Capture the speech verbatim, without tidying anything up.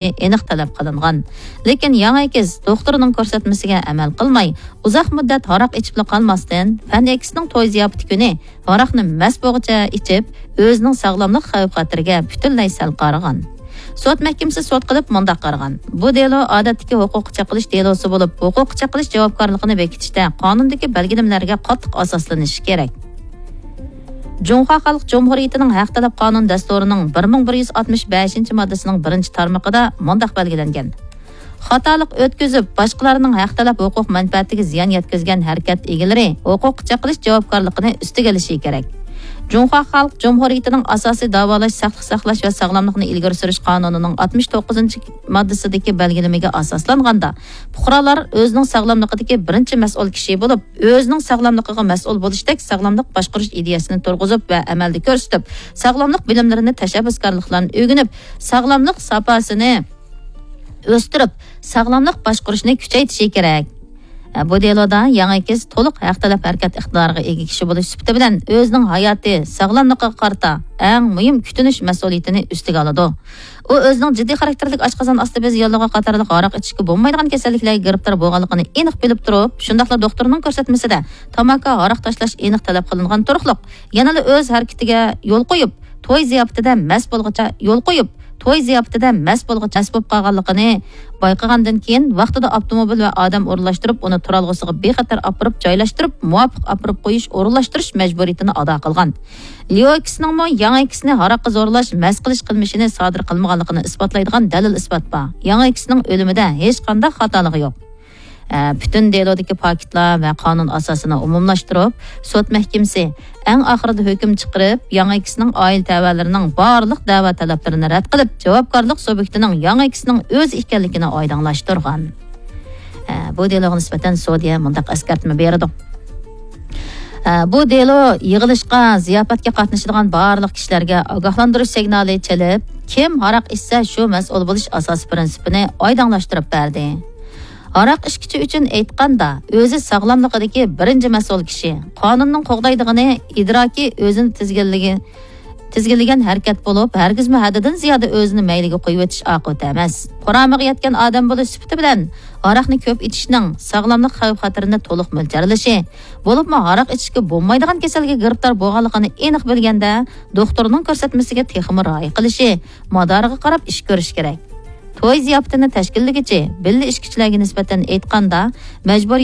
ئېنىق تەلەپ قىلىنغان. لېكىن ياڭ ئېكىز دوختۇرىنىڭ كۆرسەتمىسىگە ئەمەل قىلماي، ئۇزاق مۇددەت ھاراق ئىچىپلا قالماستىن، فەن ئېكىسنىڭ توي زىياپىتى كۈنى ھاراقنى مەس بولغۇچە ئىچىپ، ئۆزىنىڭ ساغلاملىق خەۋپ-خەتىرىگە پۈتۈنلەي سەل قارىغان. سوت مەھكىمىسى سوت قىلىپ مۇنداق قارىغان: بۇ دېلو ئادەتتىكى ھوقۇققا چېقىلىش دېلوسى بولۇپ، ھوقۇققا چېقىلىش جاۋابكارلىقىنى بېكىتىشتە قانۇندىكى بەلگىلىمىلەرگە قاتتىق ئاساسلىنىشى كېرەك. جۇڭخۇا خەلق جۇمھۇرىيىتىنىڭ ھەق تەلەپ قانۇن دەستۇرىنىڭ بىر مىڭ بىر يۈز ئاتمىش بەشىنچى ماددىسىنىڭ بىرىنچى تارمىقىدا مۇنداق بەلگىلەنگەن: خاتالىق ئۆتكۈزۈپ، باشقىلارنىڭ ھەق تەلەپ ھوقۇق مەنپەئەتىگە زىيان يەتكۈزگەن ھەرىكەت ئىگىلىرى ھوقۇققا چېقىلىش جاۋابكارلىقىنى ئۈستىگە ئېلىشى كېرەك. جۇڭخۇا خەلق جۇمھۇرىيىتىنىڭ ئاساسىي داۋالاش، ساقلىق ساقلاش ۋە ساغلاملىقنى ئىلگىرى سۈرۈش قانۇنىنىڭ ئاتمىش توققۇزىنچى ماددىسىدىكى بەلگىلىمىگە ئاساسلانغاندا، پۇقرالار ئۆزىنىڭ ساغلاملىقىدىكى بىرىنچى مەسئۇل كىشى بولۇپ، ئۆزىنىڭ ساغلاملىقىغا مەسئۇل بولۇشتەك ساغلاملىق باشقۇرۇش ئىدىيەسىنى تۇرغۇزۇپ ۋە ئەمەلدە كۆرسىتىپ، ساغلاملىق بىلىملىرىنى، تەشەببۇسكارلىقلارنى ئۆگىنىپ، ساغلاملىق ساپاسىنى ئۆستۈرۈپ، ساغلاملىق باشقۇرۇشنى كۈچەيتىشى كېرەك. بۇ دېلودا ياڭ ئېكىز تولۇق ھەق تەلەپ ھەرىكەت ئىقتىدارىغا ئىگە كىشى بولۇش سۈپىتى بىلەن ئۆزىنىڭ ھاياتى، ساغلاملىقىغا قارىتا ئەڭ مۇھىم كۈتۈنۈش مەسئۇلىيىتىنى ئۈستىگە ئالىدۇ. ئۇ ئۆزىنىڭ جىددىي خاراكتېرلىك ئاشقازان ئاستى بېزى ياللۇغى قاتارلىق ھاراق ئىچىشكە بولمايدىغان كېسەللىكلەرگە گىرىپتار بولغانلىقىنى ئېنىق بىلىپ تۇرۇپ، شۇنداقلا دوختۇرنىڭ كۆرسەتمىسىدە تاماكا، ھاراق تاشلاش ئېنىق تەلەپ قىلىنغان تۇرۇقلۇق، يەنىلا ئۆز ھەرىكىتىگە يول قويۇپ، توي زىياپىتىدە مەس بولغۇچە يول قويۇپ، توي زىياپىتىدە مەس بولغۇچە مەس بولۇپ قالغانلىقىنى بايقىغاندىن كېيىن، ۋاقتىدا ئاپتوموبىل ۋە ئادەم ئورۇنلاشتۇرۇپ، ئۇنى تۇرالغۇسىغا بىخەتەر ئاپىرىپ جايلاشتۇرۇپ، مۇۋاپىق ئاپىرىپ قويۇش، ئورۇنلاشتۇرۇش مەجبۇرىيىتىنى ئادا قىلغان. ليو ئېكسنىڭمۇ ياڭ ئېكسنى ھاراققا زورلاش، مەس قىلىش قىلمىشىنى سادىر قىلمىغانلىقىنى ئىسپاتلايدىغان دەلىل-ئىسپات بار. ياڭ ئېكسنىڭ ئۆلۈمىدە ھېچقانداق خاتالىقى يوق. ئە، پۈتۈن دېلودىكى پاكىتلار ۋە قانۇن ئاساسىنى ئومۇملاشتۇرۇپ، سوت مەھكىمىسى ئەڭ ئاخىرىدا ھۆكۈم چىقىرىپ، ياڭ ئېكسنىڭ ئائىلە تەۋەلىرىنىڭ بارلىق دەۋا تەلەپلىرىنى رەت قىلىپ، جاۋابكارلىق سۇبيېكتىنىڭ ياڭ ئېكسنىڭ ئۆزى ئىكەنلىكىنى ئايدىڭلاشتۇرغان. ئە، بۇ دېلوغا نىسبەتەن سودىيە مۇنداق ئەسكەرتمە بېرىدۇ. ئە، بۇ دېلو يىغىلىشقا، زىياپەتكە قاتنىشىدىغان بارلىق كىشىلەرگە ئاگاھلاندۇرۇش سىگنالى چېلىپ، كىم ھاراق ئىچسە، شۇ مەسئۇل بولۇش ئاساسىي پىرىنسىپىنى ئايدىڭلاشتۇرۇپ بەردى. ھاراق ئىچكۈچى ئۈچۈن ئېيتقاندا، ئۆزى ساغلاملىقىدىكى بىرىنچى مەسئۇل كىشى. قانۇننىڭ قوغدايدىغىنى ئىدراكى ئۆزىنى تىزگىنلىگەن، تىزگىنلىگەن ھەرىكەت بولۇپ، ھەرگىزمۇ ھەددىدىن زىيادە ئۆزىنى مەيلىگە قويۇۋېتىش ئاقىۋىتى ئەمەس. قۇرامىغا يەتكەن ئادەم بولۇش سۈپىتى بىلەن، ھاراقنى كۆپ ئىچىشنىڭ ساغلاملىق خەۋپ-خەتىرىنى تولۇق مۆلچەرلىشى، بولۇپمۇ ھاراق ئىچىشكە بولمايدىغان كېسەلگە گىرىپتار بولغانلىقىنى ئېنىق بىلگەندە، دوختۇرنىڭ كۆرسەتمىسىگە تېخىمۇ رىئايە قىلىشى، مادارىغا قاراپ ئىش كۆرۈش كېرەك. توي زىياپىتىنى تەشكىللىگۈچى بىللە ئىچكۈچىلەرگە نىسبەتەن ئېيتقاندا، مەجبۇرىي